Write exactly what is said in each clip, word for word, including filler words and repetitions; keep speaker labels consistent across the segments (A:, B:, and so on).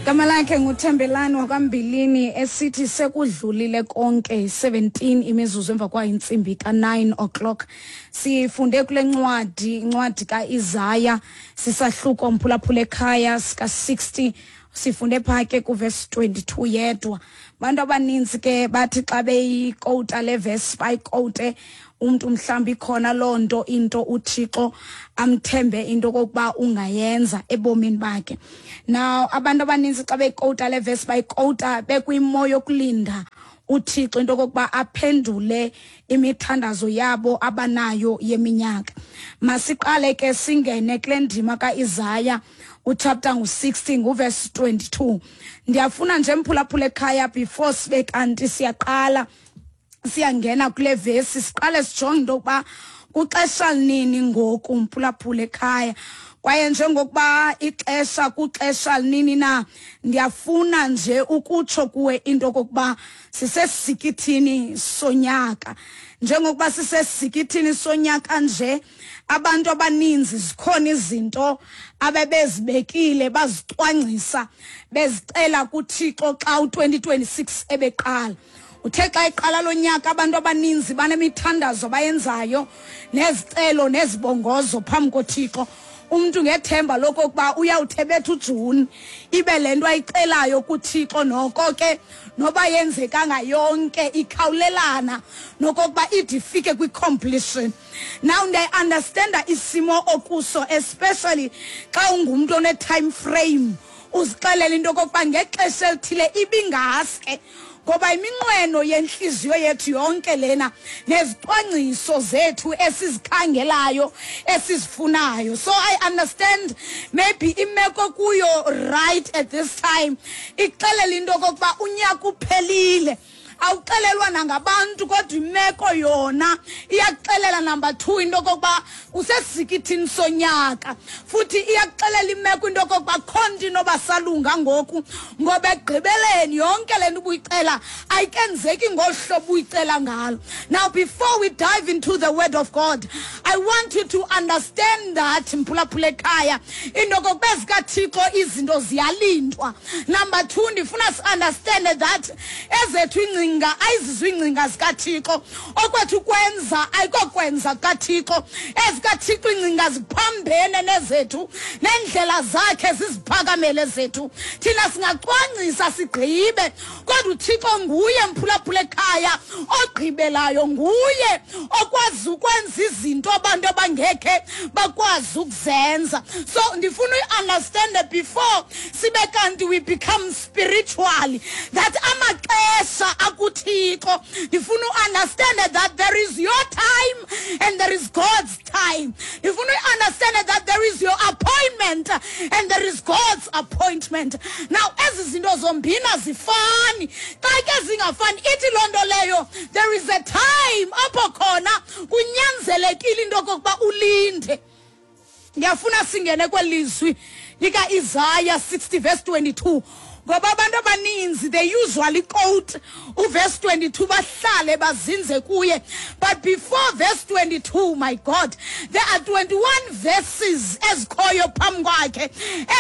A: Igama lakhe nguThembelani wakwaMbilini esithi sekudlulile konke. seventeen imizuzu emva kwayo intsimbi ka-nine o'clock. Sifunde kule ncwadi, incwadi kaIsaya, sisahluko, mphulaphula ekhaya, sika-sixty. Sifunde phaa ke kuvesi twenty-two yedwa. Abantu abaninzi ke bathi xa beyikowuta le vesi, bayikowute umntu mhlawumbi ikhona loo nto, into uThixo amthembe into okokuba ungayenza ebomini bakhe. Now abantu abaninzi xa beyikowuta le vesi, bayikowuta bekwimo yokulinda uThixo into okokuba aphendule imithandazo yabo abanayo yeminyaka. Masiqale ke singene kule ndima kaIsaya, uchapter ngu-sixty, nguverse twenty-two. Ndiyafuna nje, mphulaphula ekhaya, before sibe kanti siyaqala siyangena kule vesi, siqale sijonge into yokuba kuxesha nini ngoku, mphulaphula ekhaya. Kwaye njengokuba ixesha kuxesha nini na, ndiyafuna nje ukutsho kuwe into okokuba sisesikithini sonyaka. Njengokuba sisesikithini sonyaka nje, abantu abaninzi zikhona izinto abebezibekile, bazicwangcisa, bezicela kuThixo xa u-twenty twenty-six ebeqala. Uthe xa iqala lo nyaka, abantu abaninzi banemithandazo abayenzayo nezicelo nezibongozo phambi koThixo, umntu ngethemba lokokuba uyawuthebetha uJuni ibe le nto ayicelayo kuThixo noko ke noba yenzekanga yonke, ikhawulelana nokokuba ide ifike kwi-completion. Now ndiyayi-understanda isimo okuso, especially xa ungumntu one-time frame, uzixelela into okokuba ngexesha elithile ibingaske, ngoba iminqweno yenhliziyo yethu yonke lena nezicwangciso zethu esizikhangelayo, esizifunayo. So I understand maybe imeko kuyo right at this time ixelela into okokuba unyaka uphelile. Awuxelelwa nangabantu, kodwa imeko yona iyakuxelela, number two, into okokuba usesikithini sonyaka. Futhi iyakuxelela imeko into okokuba kho nto inoba salunga ngoku, ngoba ekugqibeleni yonke le nto ubuyicela ayikenzeki ngolu hlobo uyicela ngalo. Now, before we dive into the word of God, I want you to understand that, mphulaphula ekhaya, into okokuba ezikaThixo izinto ziyalindwa. Number two, ndifuna si-understande that ezethu iingcinga ayizizo iingcinga zikaThixo, okwethu kwenza ayikokwenza kukaThixo. EzikaThixo iingcinga ziphambene nezethu, neendlela zakhe ziziphakamele zethu. Thina singacwangcisa sigqibe, kodwa uThixo nguye, mphulaphula ekhaya, ogqibelayo, nguye okwazi ukwenza izinto abantu abangekhe bakwazi ukuzenza. So ndifuna uyi-understande before sibe kanti we become spiritually that amaxesha akuThixo. Ndifuna u-understande that there is your time and there is God's time. Ndifuna uyi-understande that there is your appointment and there is God's appointment. Now ezi zinto zombini azifani. Xa ke zingafani, ithi loo nto leyo there is a time apho khona kunyanzelekile into okokuba ulinde. Ngiyafuna singene kwelizwi lika-Isaya sixty verse twenty-two, ngoba abantu abaninzi they usually quote uverse twenty-two, bahlale bazinze kuye. But before verse twenty-two, my God, there are twenty-one verses ezikhoyo phambi kwakhe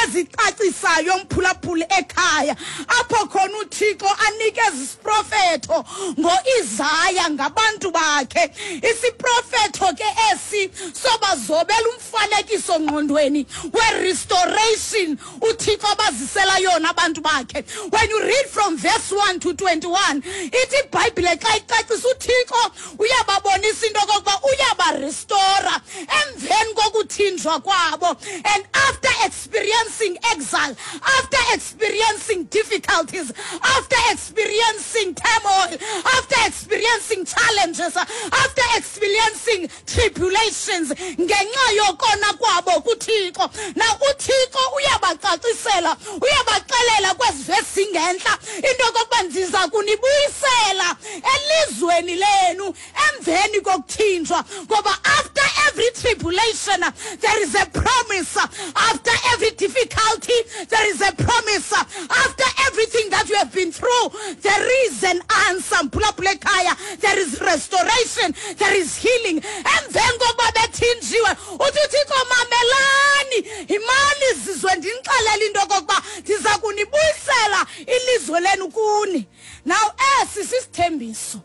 A: ezicacisayo, mphulaphula ekhaya, apho khona uThixo anikeza isiprofetho ngoIsaya ngabantu bakhe. Isiprofetho ke esi sobazobela umfanekiso ngqondweni we-restoration uThixo abazisela yona abantu bakhe. When you read from verse one to twenty-one, ithi iBhayibhile xa icacisa, uThixo uyababonisa into okokuba uyabarestora emveni kokuthinjwa kwabo, and after experiencing exile, after experiencing difficulties, after experiencing turmoil, after experiencing challenges, after experiencing tribulations ngenxa yokona kwabo kuThixo. Now uThixo uyabacacisela, uyabaxelela kwezi vesi ingentla into yokokuba ndiza kunibuyisela elizweni lenu emveni kokuthinjwa, ngoba after every tribulation there is a promise, after every difficulty there is a promise, after everything that you have been through there is an answer. Mphulaphula ekhaya, there is restoration, there is healing. Emveni kokuba bethinjiwe, uthi uThixo, mamelani, yimani zizwe, ndinixelele. Wabaxelela into okokuba ndiza kunibuyisela ilizwe lenu kuni. Now esi sisithembiso.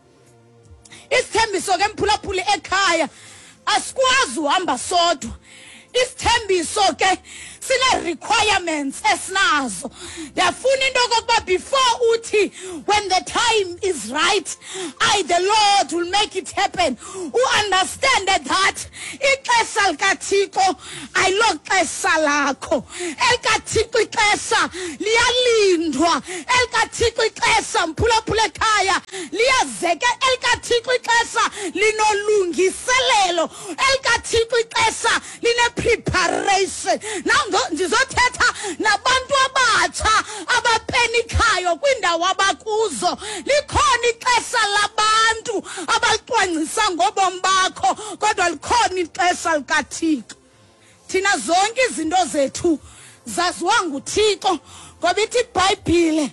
A: Isithembiso ke mphulaphuli ekhaya asikwazi uhamba sodwa. Isithembiso ke sine requirements esinazo. Ndiyafuna into okokuba before uthi when the time is right, I the Lord will make it happen, u-understand that ixesha likaThixo ayiloxesha lakho. ElikaThixo ixesha liyalindwa. ElikaThixo ixesha mphulaphula ekhaya liyazeke. ElikaThixo ixesha linolungiselelo. ElikaThixo ixesha line-preparation. Now ndizothetha nabantu abatsha abapenikayo kwiindawo abakuzo. Likhona ixesha labantu abalicwangcisa ngobomi bakho, kodwa likhona ixesha likaThixo. Thina zonke izinto zethu zaziwa nguThixo, ngoba ithi iBhayibhile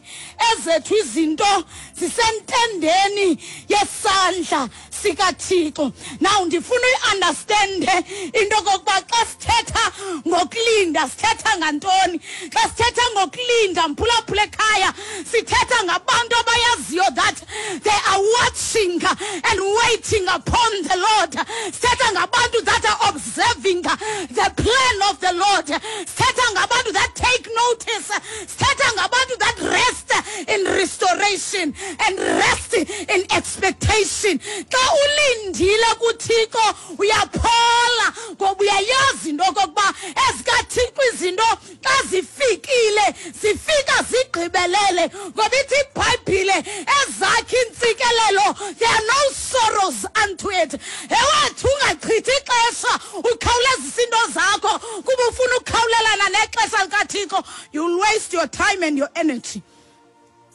A: ezethu izinto zisentendeni yesandla sikaThixo. Now ndifuna uyi-understande into okokuba xa sithetha ngokulinda sithetha ngantoni. Xa sithetha ngokulinda mphulaphula ekhaya sithetha ngabantu abayaziyo that they are watching and waiting upon the Lord. Sithetha ngabantu that are observing the plan of the Lord. Sithetha ngabantu that take notice. Sithetha ngabantu that rest in restoration and rest in expectation. Xa ulindile kuThixo uyaphola, ngoba uyayazi into okokuba ezikaThixo izinto xa zifikile zifika zigqibelele, ngoba ithi iBhayibhile ezakhe intsikelelo there are no sorrows unto it. Ewethu ungachithi ixesha ukhawulezisa into zakho kuba ufuna ukukhawulelana nexesha likaThixo. You'll waste your time and your energy.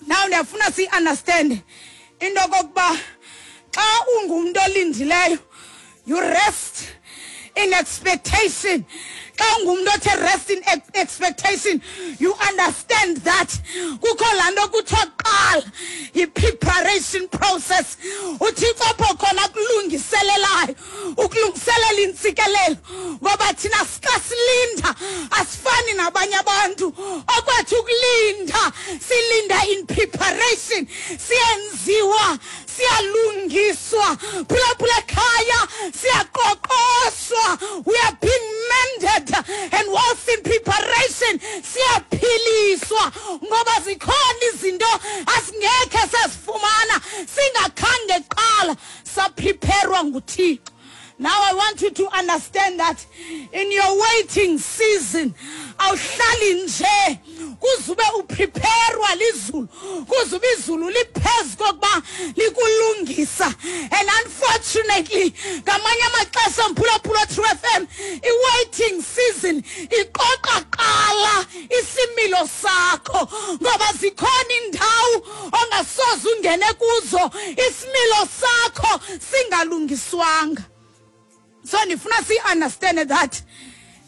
A: Now ndiyafuna siyi-understand into okokuba xa ungumntu olindileyo you rest in expectation. Xa ungumntu othe rest in expectation, you understand that kukho laa nto kuthiwa kuqala yi-preparation process. UThixo apho khona kulungiselelayo, ukulungiselela intsikelelo, ngoba thina xa silinda asifani nabanye abantu. Okwethu ukulinda silinda in preparation, siyenziwa, siyalungiswa, phulaphula ekhaya siyaqoqoshwa. We are being mended, and whilst in preparation siyaphiliswa, ngoba zikhona izinto asingekhe sazifumana singakhange kuqala sapreparwa nguThixo. Now I want you to understand that in your waiting season, awuhlali nje kuzube upreparwa lizulu, kuzube izulu liphezu kokuba likulungisa. And unfortunately, ngamanye amaxesha mphulaphula True F M, i-waiting season iqoqa qala isimilo sakho, ngoba zikhona indawo ongasoze ungene kuzo isimilo sakho singalungiswanga. So ndifuna si-understand that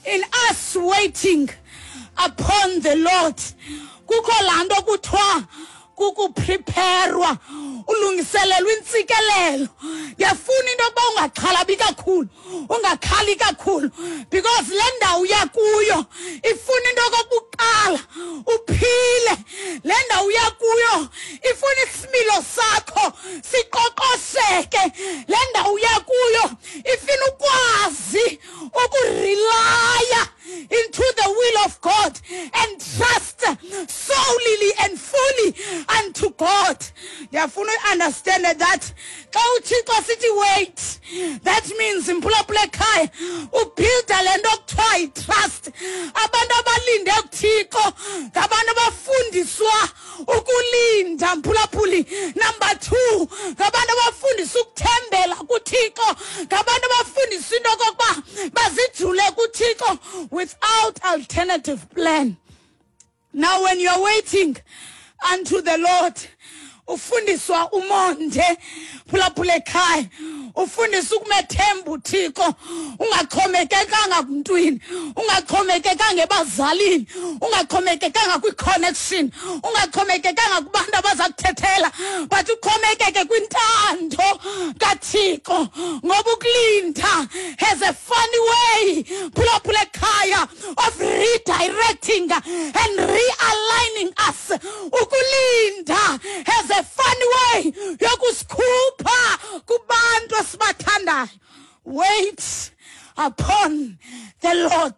A: in us waiting upon the Lord, kukho laa nto kuthiwa kukupreparwa, ulungiselelwa intsikelelo. Ndiyafuna into yokuba ungaxhalabi kakhulu, ungakhali kakhulu, because le ndawo uya kuyo ifuna into yokokuqala uphile. Le ndawo uya kuyo ifuna isimilo sakho siqoqosheke. Le ndawo uya kuyo ifuna ukwazi ukurelaya into the will of God and trust solely and fully unto God. Ndiyafuna uunderstand that xa uThixo sithi wait, that means mphulaphula ekhaya ubuilda le nto kuthiwa yi-trust. Abantu abalinde kuThixo ngabantu abafundiswa ukulinda, mphulaphuli. Number two, ngabantu abafundiswa ukuthembela kuThixo, ngabantu abafundiswa into okokuba bazijule kuThixo without alternative plan. Now when you're waiting unto the Lord, Ufundiswa umonde, phulaphula ekhaya, ufundisa ukumethemba uThixo, ungaxhomekekanga kumntwini, ungaxhomekekanga ebazalini, ungaxhomekekanga kwi-connection, ungaxhomekekanga kubantu abaza kuthethela, but uxhomekeke kwintando kaThixo. Ngoba ukulinda has a funny way, phulaphula ekhaya, of redirecting and realigning us. Ukulinda has a funny way yokusikhupha kubantu esibathandayo. Wait upon the Lord.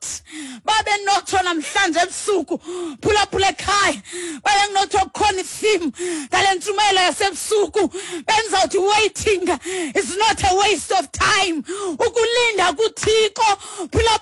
A: Babe notsho namhlanje ebusuku, phulaphula ekhaya, babe nginotsho kukhona i-theme ngale ntshumayelo yasebusuku, benzawuthi waiting is not a waste of time. Ukulinda kuThixo, phulaphula.